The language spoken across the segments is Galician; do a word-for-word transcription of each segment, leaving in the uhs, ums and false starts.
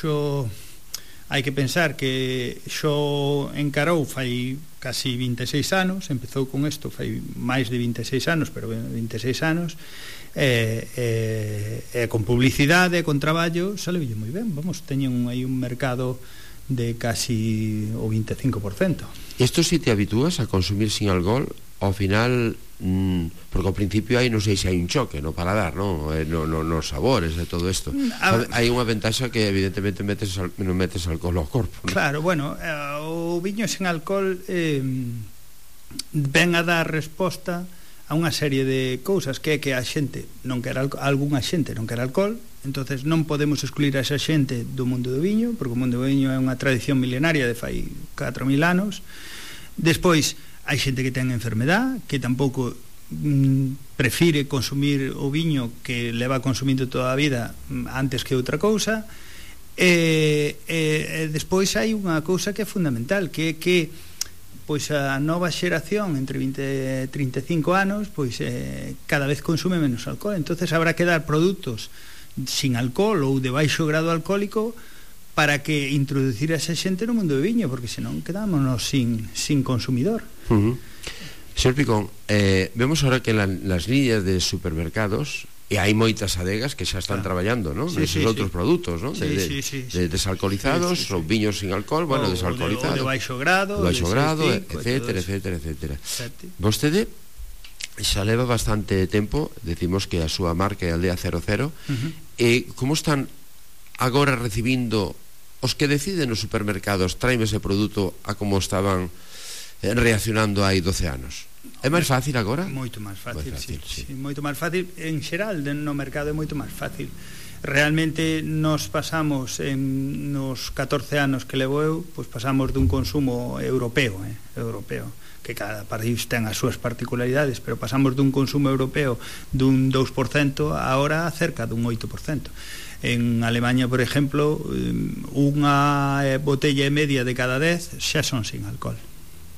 xo hai que pensar que xo encarou fai casi vinte e seis anos, empezou con isto fai máis de vinte e seis anos, pero vinte e seis anos, e, e, e con publicidade, con traballo, saleulle moi ben. Vamos, teñen aí un mercado de casi o vinte e cinco por cento. Isto si te habitúas a consumir sin alcohol, ao final, mmm, porque ao principio aí non sei se hai un choque no paladar, non? No, no, nos sabores e todo isto. A... hai unha ventaxa que evidentemente metes, non metes alcohol ao corpo, non? Claro, bueno, o viño sin alcohol eh, ven a dar resposta a unha serie de cousas, que é que a xente non quer alcohol, algunha xente non quer alcohol, entonces non podemos excluir a esa xente do mundo do viño, porque o mundo do viño é unha tradición milenaria de fai catro mil anos. Despois hai xente que ten enfermedad, que tampouco mm, prefire consumir o viño que leva consumindo toda a vida antes que outra cousa. E, e, e despois hai unha cousa que é fundamental, que é que pois a nova xeración entre vinte e trinta e cinco anos pois eh, cada vez consume menos alcohol, entonces habrá que dar produtos sin alcohol ou de baixo grado alcohólico para que introducir a esa xente no mundo do viño, porque senón quedámonos sin, sin consumidor. Uh-huh. Señor Picón, eh, vemos ahora que la, las líneas de supermercados, e hai moitas adegas que xa están claro. traballando, ¿no? Sí, Neses sí, outros sí. produtos, ¿no? Sí, de, sí, sí, sí. de desalcoholizados, sí, sí, sí. ou viños sin alcohol, bueno, o, desalcoholizados, o de, o de baixo grado, de baixo grado, cinco, etcétera, etcétera, etcétera. Exacto. Vostede xa leva bastante tempo, decimos que a súa marca é Aldea cero cero, uh-huh. e como están agora recibindo os que deciden nos supermercados traime ese produto a como estaban eh, reaccionando hai doce anos? É máis fácil agora? Moito máis fácil, fácil sí, sí. sí, moito máis fácil. En xeral, no mercado é moito máis fácil. Realmente nos pasamos en nos catorce anos que levo eu, pois pasamos dun consumo europeo, eh, europeo, que cada país ten as súas particularidades, pero pasamos dun consumo europeo dun dous por cento agora cerca dun oito por cento. En Alemania, por exemplo, unha botella e media de cada dez xa son sin alcohol.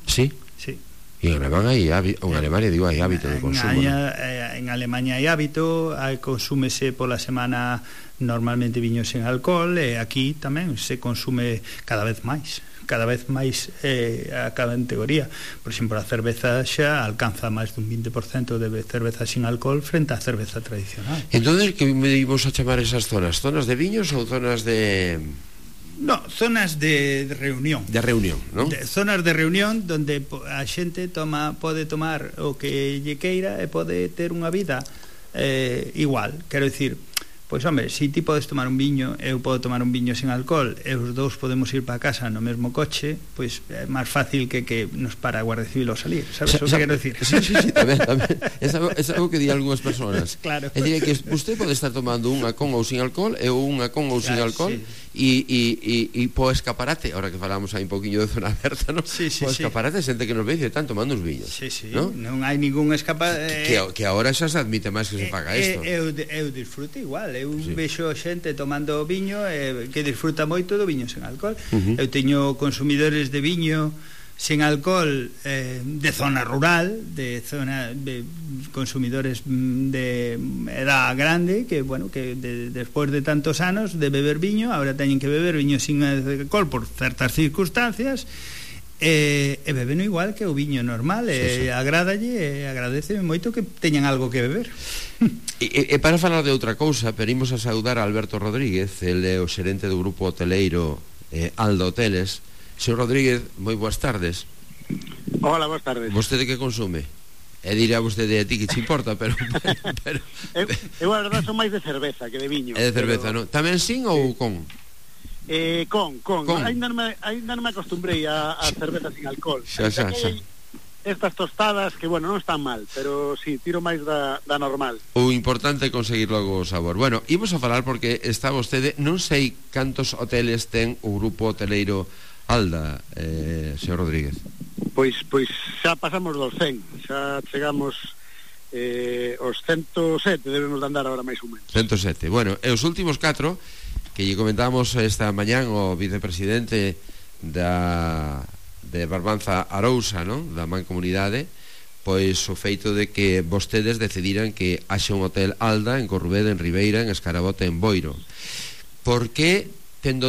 Sí? Sí. E en Alemania hai, en Alemania digo, hai hábito de consumo, en, ¿no? En Alemania hai hábito, hai, consúmese pola semana normalmente viño sen alcohol, e aquí tamén se consume cada vez máis cada vez máis eh, a cada categoría. Por exemplo, a cerveza xa alcanza máis dun vinte por cento de cerveza sin alcohol frente á cerveza tradicional. Entón, que me íbamos a chamar esas zonas? Zonas de viños ou zonas de... No, zonas de, de reunión. De reunión, ¿no? De, zonas de reunión donde a xente toma, pode tomar o que lle queira e pode ter unha vida eh, igual. Quero dicir, pois home, se ti podes tomar un viño, eu podo tomar un viño sen alcohol, e os dous podemos ir para casa no mesmo coche, pois é máis fácil que que nos para a Guardia Civil ao salir, sabes o que quero dicir? Sí, sí, sí, tamén, tamén. É algo, é algo que di algunhas persoas. Claro. É dicir, que usted pode estar tomando unha con ou sin alcohol e unha con ou sin claro, alcohol, sí. e, e, e, e po escaparate, ahora que falamos aí un poquinho de zona aberta, ¿no? Sí, sí, po escaparate, sí. Xente que nos ve e están tomando uns viños, sí, sí. ¿no? Non hai ningún escaparate. Que, que, que agora xa se admite máis que se faga isto. Eu, eu disfruto igual, eu sí. vexo xente tomando viño eh, que disfruta moito do viño sen alcohol. Uh-huh. Eu teño consumidores de viño sen alcohol eh, de zona rural, de zona de consumidores de edad grande que, bueno, que de, despois de tantos anos de beber viño, ahora teñen que beber viño sin alcohol por certas circunstancias. E, e bebeno igual que o viño normal, e sí, sí. agradalle e agradeceme moito que teñan algo que beber. E, e para falar de outra cousa, pedimos a saudar a Alberto Rodríguez, el é o xerente do grupo hoteleiro eh, Alda Hoteles. Señor Rodríguez, moi boas tardes. Hola, boas tardes. Vostede que consume? E dirá vostede a ti que te importa, pero... pero, pero eu, eu a verdade son máis de cerveza que de viño. É de cerveza, pero... non? Tamén sin ou con? Eh, con, con, con. Ainda non me, ainda non me acostumbrei a, a cerveza sin alcohol. Xa, xa, xa. Estas tostadas que, bueno, non están mal, pero si, sí, tiro máis da, da normal. O importante é conseguir logo o sabor. Bueno, imos a falar porque está vostede, non sei cantos hoteles ten o grupo hoteleiro Alda, eh, señor Rodríguez. Pois, pois xa pasamos dos cen, xa chegamos eh, os ciento sete, debemos de andar agora máis ou menos. ciento sete, bueno, e os últimos catro que lle comentamos esta mañán o vicepresidente da de Barbanza Arousa, non? Da Mancomunidade, pois o feito de que vostedes decidiran que haxe un hotel Alda en Corrubeda, en Ribeira, en Escarabote, en Boiro. Por que tendo